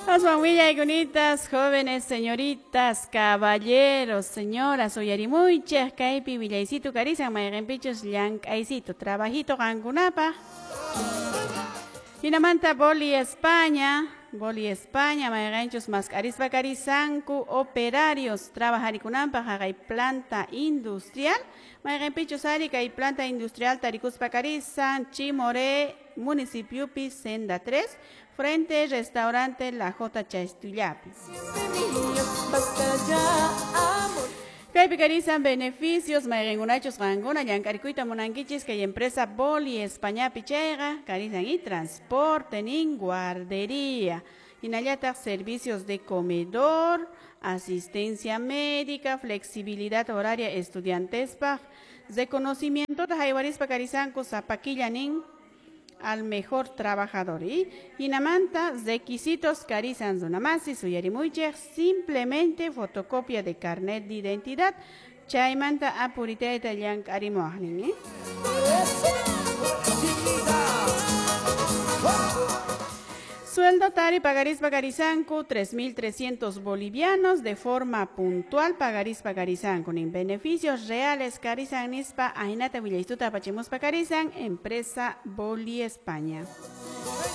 Aswan willaykunitas, jóvenes, señoritas, caballeros, señoras, uyarimuychej kaypi willaysitu karisan mayqinpichus llank'aysito, trabajito qankunapaq. Hinamanta Boli España, Boli España, mayqinchus mask'arispa karisanku operarios trabajarikunanpaq haqay planta industrial, mayqinpichus ari kay planta industrial tarikuspa karisan Chimoré municipiopi Senda 3, frente restaurante La J Chastullapi. Kaypi karisan beneficios mayqinkunachus qankuna llank'arikuyta munankichis kay empresa Boli Españapi chayqa karisan y transporte nin guardería, hinallataq servicios de comedor, asistencia médica, flexibilidad horaria estudiantespaq, reconocimiento haywarispa karisanku sapakilla nin al mejor trabajador. Y hinamanta requisitos karisan runamasi suyarimuychej simplemente fotocopia de carnet de identidad chaymanta apuritayta llank'arimuwaqnin, ¿eh? Sueldo tari pagarispa karisanku 3.300 bolivianos de forma puntual pagarispa karisanku nin beneficios reales karisan nispa ahinata willaystuta apachimuspa karisan empresa Boli España.